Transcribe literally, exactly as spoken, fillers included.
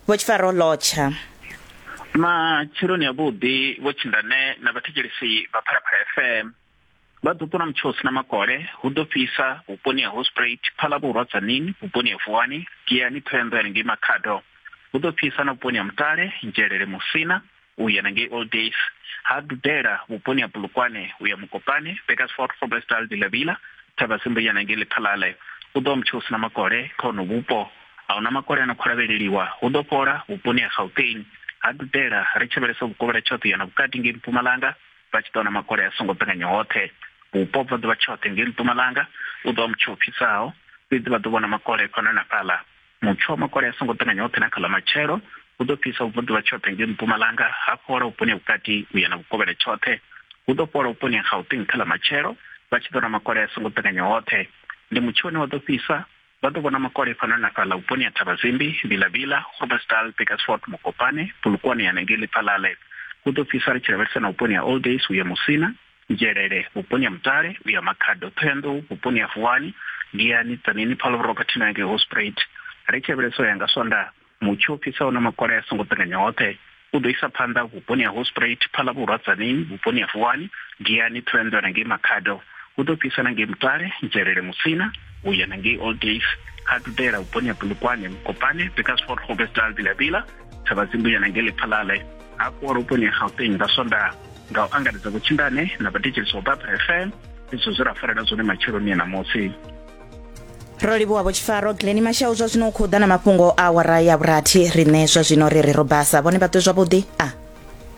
Vho Tshifaro, lotsha. Matsheloni avhuḓi Vho Tshindane na vhathetshelesi vha Phalaphala F M. Vha ḓo ṱuna mutsho usina makole, hu ḓo fhisa vhuponi ha Hospruit, Phalavhurwa, Tzaneen, vhuponi ha Vuwani, Giyani, Thohoyandou ngei Makhado. Hu ḓo fhisa na vhuponi ha Mutale, Nzhelele, Musina u ya ngei Old Days. Ha dudela vhuponi ha Polokwane u ya Mokopane, Bakersford, Groblersdal, Vilavila, Thavhasimbu ya ngei Lephalale. Hu ḓo mutsho usina makole kha hono vhupo. A huna makole ano khou lavheleliwa, hu ḓo fhola vhuponi ha Gauteng. Ha dudela ri tshi lavhelesa vhukovhela tshoṱhe ya na vhukati ngei Mpumalanga, vha tshi ḓo wana makole a songo ṱanganya hoṱhe. Vhupo bva ḓuvha tshoṱhe ngei Mpumalanga u ḓo mutsho fhisaho, fhedzi vha ḓo vhona makole fhano na fhaḽa. Mutsho wa makole a songo ṱanganya hoṱhe na kha ḽa matshelo hu ḓo fhisa ubva ḓuvha tshoṱhe ngei Mpumalanga, ha fhola vhuponi ha vhukati u ya na vhukovhela tshoṱhe. Hu ḓo fhola vhuponi ha Gauteng kha ḽa matshelo, vha tshi ḓo wana makole a songo ṱanganya hoṱhe. Ndi mutsho une wa ḓo fhisa, vha ḓo vhona makole fhano na fhaḽa vhuponi ha Thavhazimbi, Vilavila, Groblersdal, Bakersford, Mokopane, Polokwane ya ngei Lephalale. Hu ḓo fhisa ri tshi lavhelesa na vhuponi ha Old Days u ya Musina, Nzhelele, vhuponi ha Mutale u ya Makhado, Thohoyandou, vhuponi ha Vuwani, Giyani, Tzaneen, Phalavhurwa khathihi na ngei Hospruit. Ri tshi lavhelesa ya nga Swondaha, mutsho u fhisaho na makole a songo ṱanganya hoṱhe u ḓo isa phanḓa vhuponi ha Hospruit, Phalavhurwa, Tzaneen, vhuponi ha Vuwani, Giyani, Thohoyandou na ngei Makhado. Hu ḓo fhisa na ngei Mutale, Nzhelele, Musina u ya na ngei Old Days. Ha dudela vhuponi ha Polokwane, Mokopane, Bakersford, Groblersdal, Vilavila, Thavhazimbu ya na ngei Lephalale. Hafhu vhuponi ha Gauteng nga Swondaha. Nga u angaredza Vho Tshindane na vhathetshelesi vha Phalaphala F M, izwo zwe ra farela zwone matsheloni a ṋamusi. Ro livhuwa Vho Tshifaro. Glenn Mashau zwa zwino u khou ḓa na mafhungo a awara ya vhurathi. Riṋe zwa zwino ri ri ro basa, vhone vha ṱwe zwavhuḓi. A